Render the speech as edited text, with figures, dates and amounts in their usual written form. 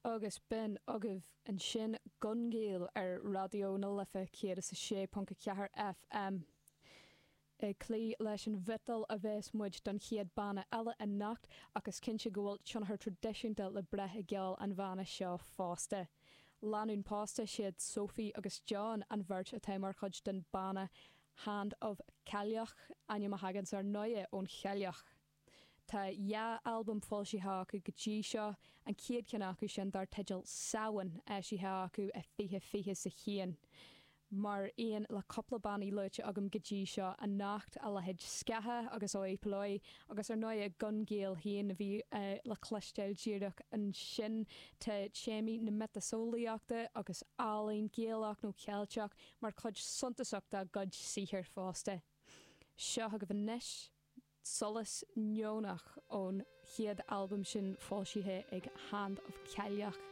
Agus b'in agaibh ansin Gun Gael ar Raidió na Life 106.4 FM. Ag cloí leis an mhiotal a bheas muid don chéad banna eile anocht ach is cinnte go bhfuil tionchar traidisiúnta le brath i gceol an bhanna seo fosta. Lánúin pósta siad Sophie agus John, an bheirt atá mar chuid den banna Hand of Cailleach, ainm a thaganns ar ndóighe ón chailleach. Tá 2 albam foilsithe acu go dtí seo, an chéad cheann acu sin dar teideal Samhain, eisithe acu i 2021. Mar aon le cúpla bannaí luaite agam go dtí seo anocht, a leithéid Scatha agus Oi Polloi agus ar ndóighe Gun Gael féin a bhí le cloisteáil díreach ansin, tá téamaí na miotaseolaíochta agus ealaín Gaelach nó Ceilteach mar chuid suntasach dá gcuid saothair fosta. Seo agaibh anois. Solas Neonach ón chéad albam sin foilsithe ag Hand of Cailleach.